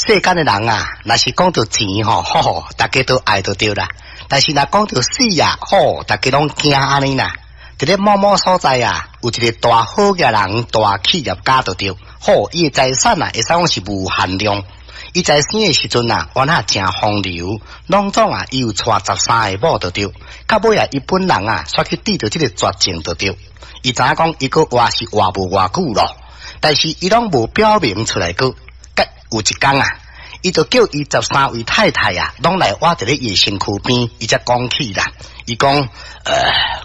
世間的人啊，若是講著錢吼，吼，大家都愛就對啦。但是若講著死啊，吼，大家攏驚按呢啦。佇咧某某所在啊，有一个大好額人，大企業家就對，吼，伊的財產啊，會使講是無限量。伊在生的時陣啊，原來誠風流，攏總啊，伊有娶十三个某就對，到尾啊，伊本人啊，煞去得著這个絕症就對。伊知影講，伊閣活是活無偌久咯，但是伊攏無表明出來過。有一工啊，伊就叫伊十三位太太啊，攏來倚佇咧伊的身軀邊，伊才講起啦。伊講：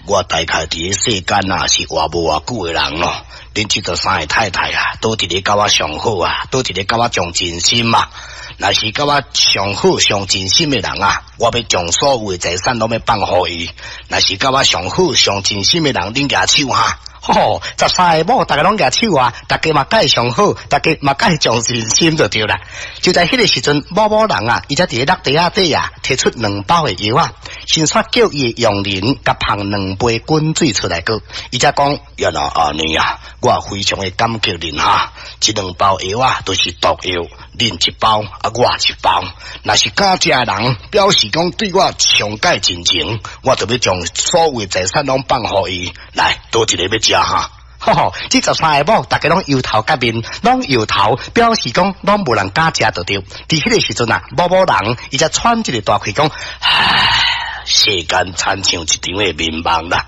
我大概佇咧世間啊，是活無偌久的人咯。恁這十三个太太啊，佗一个佮我上好啊，佗一个佮我上真心啊。若是佮我上好上真心的人啊，我欲將所有的財產攏欲放予伊。若是佮我上好上真心的人，恁舉手哈。吼，十三个某，逐家攏舉手啊！逐家嘛佮伊上好，逐家嘛佮伊上真心就對啦。就在彼个時陣，某某人啊，伊才佇咧落地仔底啊，提出兩包的藥仔，先煞叫伊的傭人共捧兩杯滾水出來過。伊才講：原來按呢啊，我非常的感激恁哈，這兩包藥仔都是毒藥，恁一包啊，我一包。若是敢食的人，表示講對我上蓋真情，我就欲將所有的財產攏放予伊。來，佗一个欲食哈，吼吼，這十三个某，逐家攏搖頭佮面，攏搖頭，表示講攏無人敢食就對。佇彼个時陣啊，某某人伊才喘一个大氣講，唉，世間親像一場的眠夢啦，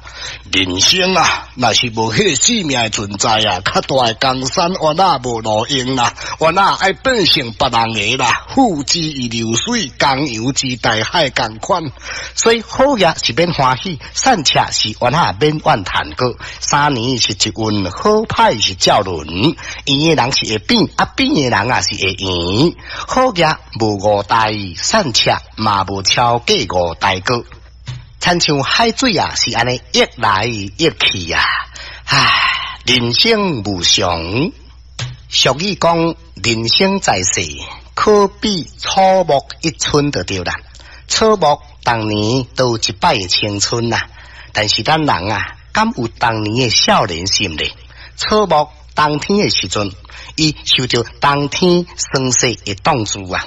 人生啊，若是無彼个生命的存在啊，較大的江山原來無路用啦，原來愛變成別人的啦。付之如流水，江洋之大海仝款。所以好額是免歡喜，散赤是原來免怨嘆過。三年是一運，好歹是照輪。圓的人是會扁，啊扁的人啊是會圓。好額無五代，散赤嘛無超過五代過。親像海水啊，是按呢溢來溢去啊！唉，人生無常。俗語講，人生在世，可比草木一春就對啦。草木當年都有一擺的青春啊，但是咱人啊，敢有當年的少年心咧？草木冬天的時陣，伊受著冬天霜雪的凍住啊，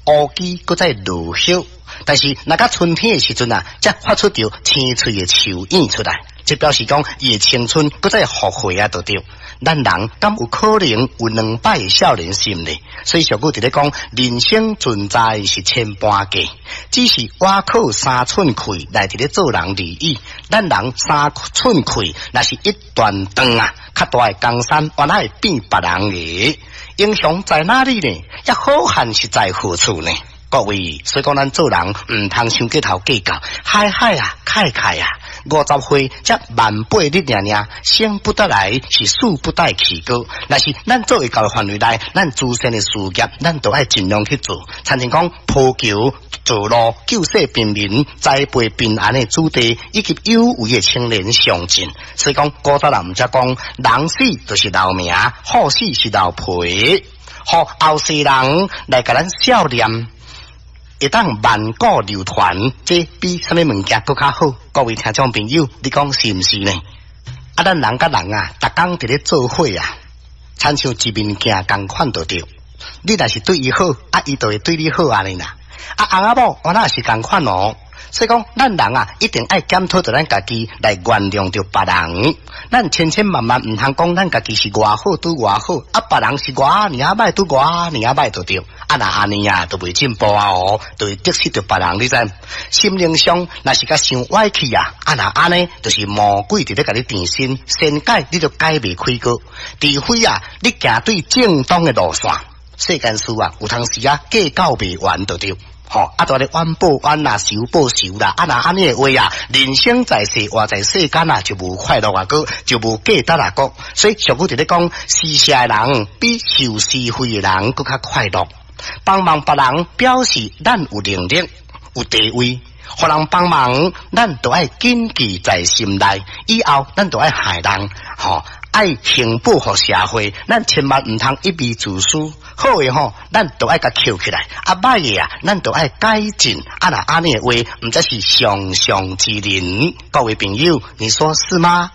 烏枝閣再落葉。但是，若到春天的時陣啊，才發出著青翠的樹影出來，這表示講伊的青春閣再復活啊，就對。咱人敢有可能有兩擺的少年心呢？所以俗語佇咧講，人生存在是千般計，只是倚靠三寸氣來佇咧做人而已。咱人三寸氣，若是一旦斷啊，較大的江山原來會變別人的。英雄在哪裡呢？抑好漢是在何處呢？各位，所以講咱做人毋通傷過頭計較，海海啊，凱凱啊，50歲才萬八日爾爾，生不得來，是死不帶去過。若是咱做會到的範圍內，咱慈善的事業，咱都愛盡量去做。親像講鋪橋、造路、救濟貧民、栽培平安的子弟，以及有為的青年上進。所以講，古早人毋才講，人死就是留名，虎死是留皮，予後世人來共咱笑念。會當萬古流傳，這比啥物物件閣較好。各位聽眾朋友，你講是毋是呢？啊，咱人佮人啊，逐工佇咧做伙啊，親像一面鏡仝款就對。你若是對伊好，啊，伊就會對你好按呢啦。啊，翁仔某原來是仝款哦。所以講，咱人啊，一定愛檢討著咱家己來原諒著別人。咱千千萬萬毋通講咱家己是偌好拄偌好，啊，別人是偌爾歹拄偌爾歹就對。啊，若按呢啊，就袂進步啊哦，就會得失著別人，你知？心靈上若是共想歪去啊，啊若按呢，就是魔鬼佇咧共你纏身，善改你就改袂開過，除非啊，你行對正當的路線。世間事啊，有當時啊，計較袂完就對。吼，啊，就按呢冤報冤啦，仇報仇啦，啊，若按呢的話啊，人生在世，活在世間啊，就無快樂啊，閣就無價值啊，閣。所以俗語佇咧講，施捨的人比受施惠的人閣較快樂。幫忙別人，表示咱有能力、有地位，予人幫忙，咱都愛謹記在心內。以後咱都愛害人，吼，愛行報予社會，咱千萬毋通一味自私。好的吼，咱都愛共抾起來；啊，歹的啊，咱都愛改進。啊，若按呢的話，毋才是上上之人。各位朋友，你說是嗎？